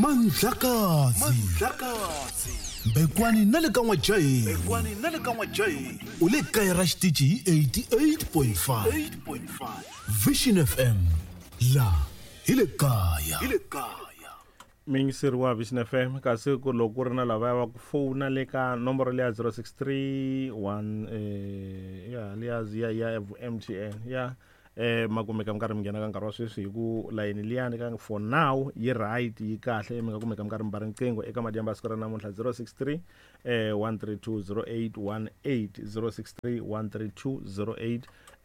Mandlakazi Mbekwani na le ka N'wajaheni u le kaya ra xitichi hi 88.5 Vision FM la hi le kaya. Muyingiseri wa Vision FM kasi ku loko ku ri na lavaya va ku fowuna le ka nomboro liya 063 1 ya liya ya ya MTN ya ma kumeka mi karhi mi nghena ka nkarhi wa sweswi hi ku layeni liyani ka for now yi right yi kahle mi nga kumeka mi karhi mi ba riqingho eka madyambu ya siku ra namuntlha 063 132 0818 063 132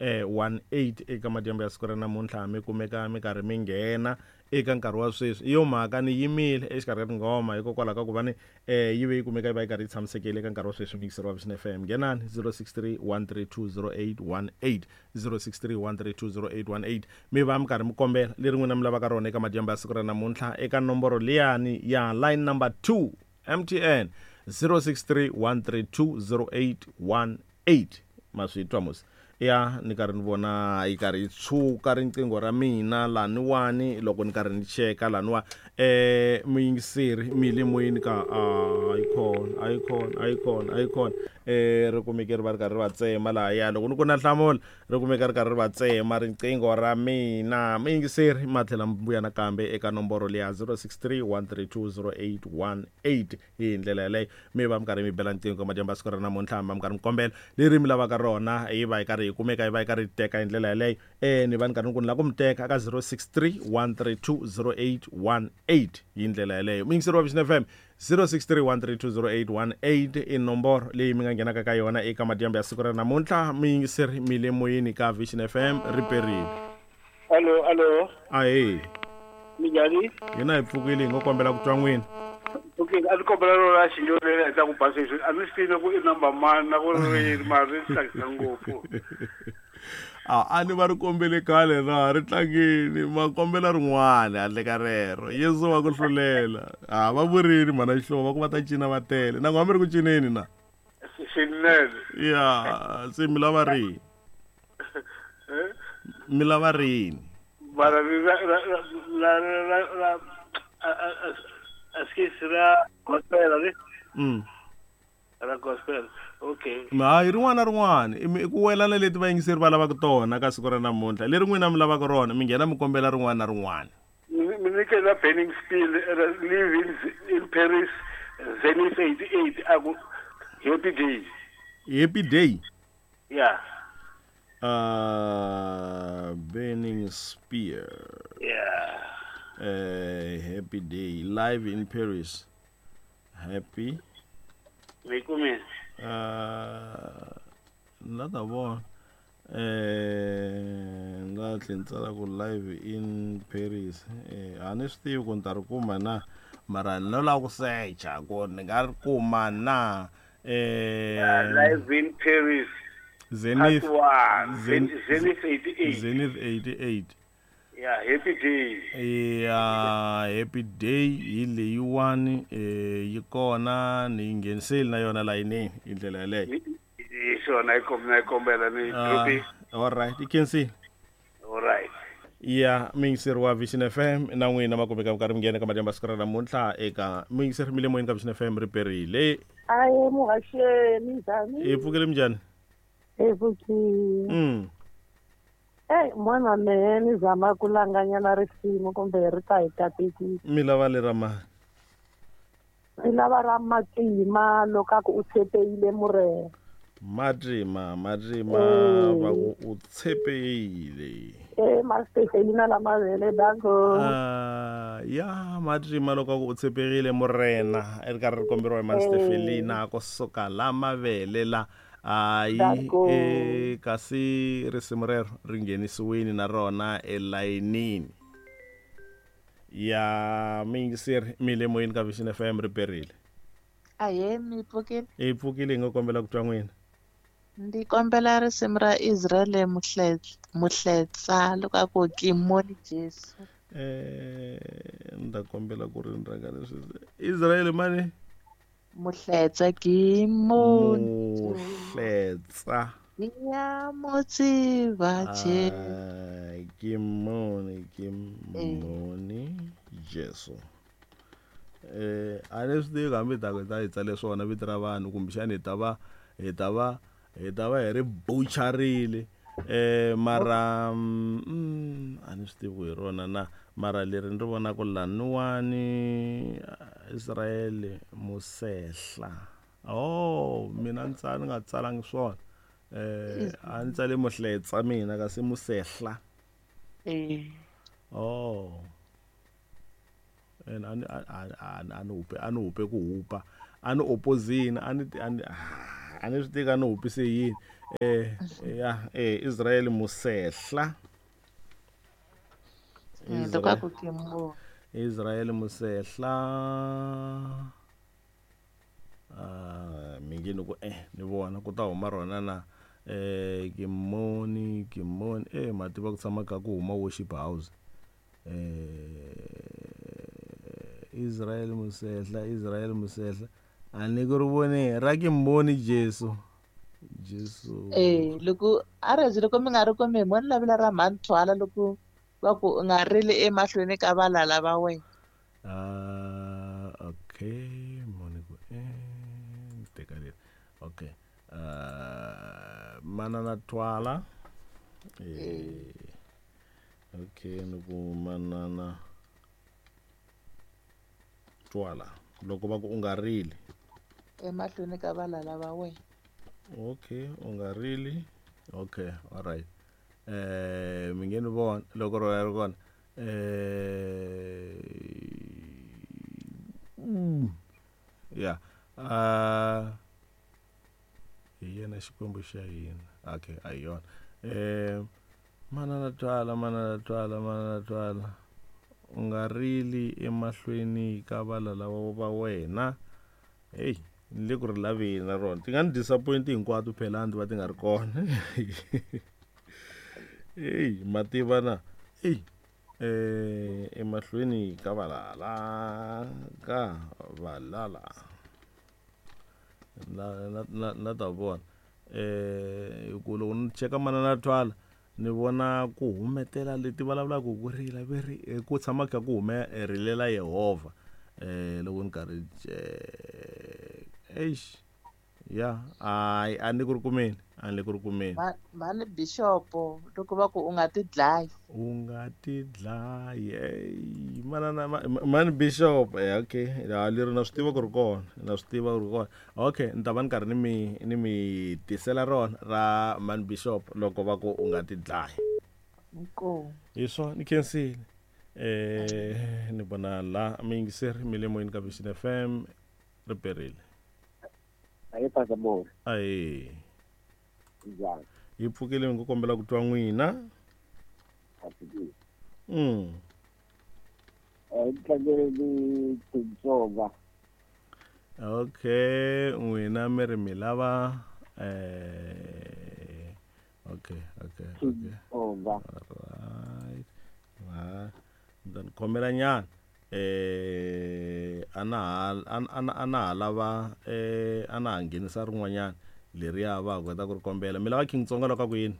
08 18 eka madyambu ya siku ra namuntlha mi kumeka mi karhi mi nghena eka nkarhi wa sweswi. Hi yo mhaka ni yimile exikarhi ka tinghoma hikokwalaho ka ku va ni yi ve yi kumeka yi va yi karhi yi tshamisekile eka nkarhi wa sweswi. Muyingiseri wa Vision FM nghenani 063 132 0818 063 132 0818 mi va mi karhi mi kombela leri n'wina mi lavaka rona eka madyambu ya siku ra namuntlha eka nomboro liyani ya line number 2 MTN 063 132 0818. Ma swi twa musi? Ya ni karhi ni vona yi karhi yi tshuka riqingho ra mina laniwani loko ni karhi ni cheka laniwa muyingiseri mi le moyeni ka a yi khona a yi khona a yi khona a yi khona ri kumeke ri va ri karhi ri va tsema lahaya loko ni ku na nhlamulo ri kumeka ri karhi ri va tsema riqingho ra mina. Muyingiseri ma tlhela mi vuya nakambe eka nomboro liya 063 132 0818 hi ndlela yaleyo mi va mi karhi mi bela nqingho madyambu ya siku ra namuntlha mi va mi karhi mi kombela leri mi lavaka rona yi va yi karhi yi kumeka yi va yi karhi yi teka hi ndlela yaleyo ni va ni karhi ni ku ni lava ku mi teka ka 063 132 0818 hi ndlela yaleyo. Muyingiseri wa Vision FM 063 132 0818 i nomboro leyi mi nga nghenaka ka yona eka madyambu ya siku ra namuntlha. Muyingiseri mi le moyeni ka Vision FM ri perile. Allo, allo. Ahee. Minjhani? Hina hi pfukile hi ngo kombela ku twa n'wina. Okay, a ndzi kombela rona xinyo leri endla ku ba sweswi. A ndzi swi tivi ku i number mani na ku ri yini mara ri tsakisa ngopfu. A ni va ri kombele khale na ri tlangini ma kombela rin'wana handle ka rero. Yesu wa ku hlulela. A va vurini mhana Xihlovo va ku va ta cina va tele. Na n'wina mi ri ku cineni na? Swinene. Ya, se mi lava rihi? Mi lava rini? Mara ri ra ra ra ra ra ra a skisi ra gospel ri? Ra gospel. Okay. Hayi rin'wana na rin'wana i ku welana leti vayingiseri va lavaka tona ka siku ra namuntlha. Leri n'wina mi lavaka rona mi nghena mi kombela rin'wana na rin'wana. Mi nyike la Burning Spear live in Paris Zenith 88 a ku Happy Day. Happy Day? Yeah. Burning Spear. Yeah. Happy Day live in Paris. Happy. Mi kumile. La ta vona. La tlhe ni tsala ku live in Paris. A ni swi tivi ku ni ta ri kuma na mara no lava ku secha ku ni nga ri kuma na. Live in Paris. Zenith. Part 1. Zenith 88. Zenith 88. Yeah, Happy Day. Yeah, Happy Day hi leyiwani yi kona ni yi ngheniseli na yona layinini hi ndlela yaleyo. Hi swona yi kombela ni dropi. All right, yi khensile. All right. Ya muyingiseri wa Vision FM na n'wina ma kumeka mi karhi mi nghena ka madyambu ya siku ra namuntlha eka muyingiseri mi le moyeni ka Vision FM ri perile. Aye muhaxeni njhani? Hi pfukile minjhani? Hi pfukile. Ey mwana mehe ni zama ku langanyana risimu kumbe ri ta hi katekisa. Mi lava lera mani? Mi lava ra Matima loko a ku u tshepeyile Murena. Matima, Matima va ku u tshepeyile. Master Felina la mavele danko. Ya Matima loko a ku u tshepeyile Murena ri karhi ri komberiwa hi Master Felina ku suka la mavele la. Hayi kasi risimu rero ri nghenisiwile na rona elayinini ya muyingiseri mi le moyeni ka Vision FM ri perile. Ahee, mi pfukile? Hi pfukile hi ngo kombela ku twa n'wina. Ndzi kombela risimu ra Israel Muhletsa loko a ku Kimoni Jesu. Ni ta kombela ku ri ni rhanga leswi Israel mani? Muhletsa Kimoni. Muhletsa. Ya motsiva Jesu. Kimoni, Kimoni Jesu. A ni swi tivi hambi ta ku ta hi tsale swona vito ra vanhu kumbexani hi ta va hi ri butcherile mara a ni swi tivi ku hi rona na mara leri ni ri vonaka laniwani Israel Musehla. Oh, mina ni nga tsalangi swona. A ni tsale Muhletsa mina kasi Musehla. Oh. And ani hupe ku hupa ani opposing ani swi tika ni hupise yini. Ya Israel Musehla. Israel Musehla. Mi nge ni ku ni vona ku ta huma rona na Kimoni mativa ku tshama ka ku huma worship house. Israel Musehla a ni ku ri vone ra Kimoni Jesu. Loko a rezi loko mi nga ri kumi mo ni lavela ra Mhanthwala loko va ku u nga rili emahlweni ka valala va wena. Okay, moni ku teka leri. Okay. Manana Twala. Okay, ni ku Manana Twala loko va ku u nga rili emahlweni ka valala va wena. Okay, u nga rili. Okay, all right. Mi nge ni vona loko rona ri kona. Ya hi yena Xikwembu xa hina. Okay, a hi yona. Manana Twala u nga rili emahlweni ka valala va wena. Hey, ni le ku ri laveni na rona. Ti nga ni disappoint hinkwato phela a va ti nga ri kona. Hey, mativa na. Hey, emahlweni ka valala na ta vona. Ku loko ni cheka Manana Twala ni vona ku humetela leti vulavulaka ku rila veri ku tshama kha ku hume rilela Yehovha. Loko ni karhi eish ya ai a ni ku ri kumeni. Mhani Bishop loko va ku u nga ti dlayi. Manana Mhani Bishop. Okay, leri na swi tiva ku ri kona. Okay, ni ta va ni karhi ni mi tisela rona ra Mhani Bishop loko va ku u nga ti dlayi. Inkomu. Hi swona ni khensile. Ni vona la mi yingiseri mi le moyeni ka Vision FM ri perile. Ayi pasabona. Ayi. Njhani? Hi pfukile ni ku kombela ku twa n'wina. Tlangele Tsonga. Okay, n'wina mi ri mi lava okay. Tsonga. Right. Ni khomela nyana. Ana lava ana nghenisa rin'wanyana leriya va kota ku ri kombela. Mi lava King Tsonga loko ku yini?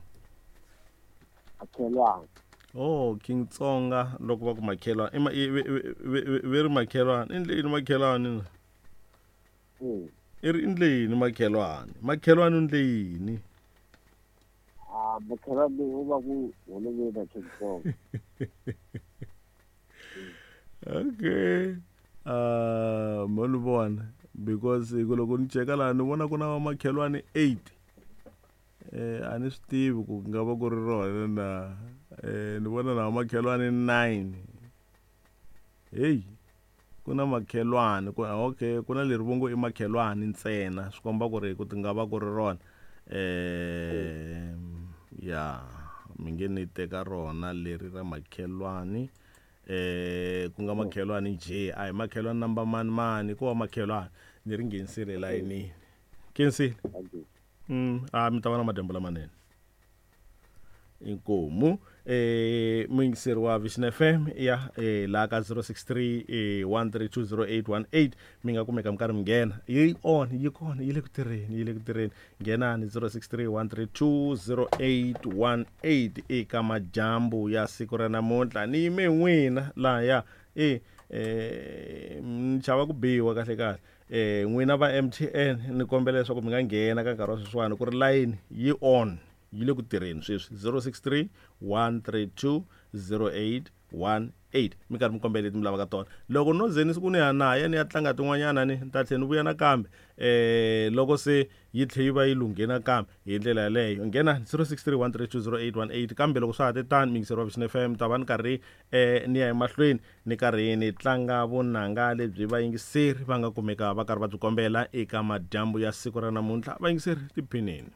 Makhelwani. Oh, King Tsonga loko va ku makhelwani. Ve ri makhelwani. I ndle yini makhelwani? I ri ndle yini makhelwani? Makhelwani u ndle yini? Makhelwani u va ku holoveni na King Tsonga. Okay. Mo ni vona because loko ni cheka laha ni vona ku na makhelwani 8. A ni swi tivi ku nga va ku ri rona na ni vona na makhelwani 9. Hey, ku na makhelwani ku okay, ku na leri vongo i makhelwani ntsena swi komba ku ri ku ti nga va ku ri rona. Ya mi nge ni teka rona leri ra makhelwani. Ku nga makhelwani J a hi makhelwani number mani ko va makhelwani ni ri nghenisile layinini. Khensile. Mi ta va na madyambu lamanene. Inkomu muyingiseri wa Vision FM ya laha ka 063 1320818 mi nga kumeka mi karhi mi nghena. Yi on yi kona yi le ku tirheni nghenani 063 1320818 eka madyambu ya siku ra namuntlha. Ni yime n'wina lahaya Ni chava ku biwa kahle kahle. N'wina va MTN ni kombela leswaku mi nga nghena ka nkarhi wa sweswiwani ku ri layini yi on, yi le ku tirheni sweswi. 063 132 0818, mi karhi mi kombela leti mi lavaka tona. Loko no ze ni siku ni ya na ya ni ya tlanga tin'wanyana, ni ta tlhela ni vuya nakambe loko se yi tlhe yi va yi lunghe nakambe hi ndlela yaleyo. Nghena 063 132 0818. Kambe loko swa ha te tani, miyingiseri wa Vision FM, ta va ni karhi ni ya emahlweni ni karhi ni tlanga vunanga lebyi vayingiseri va nga kumeka va karhi va byi kombela eka madyambu ya siku ra namuntlha. Vayingiseri, tiphinini.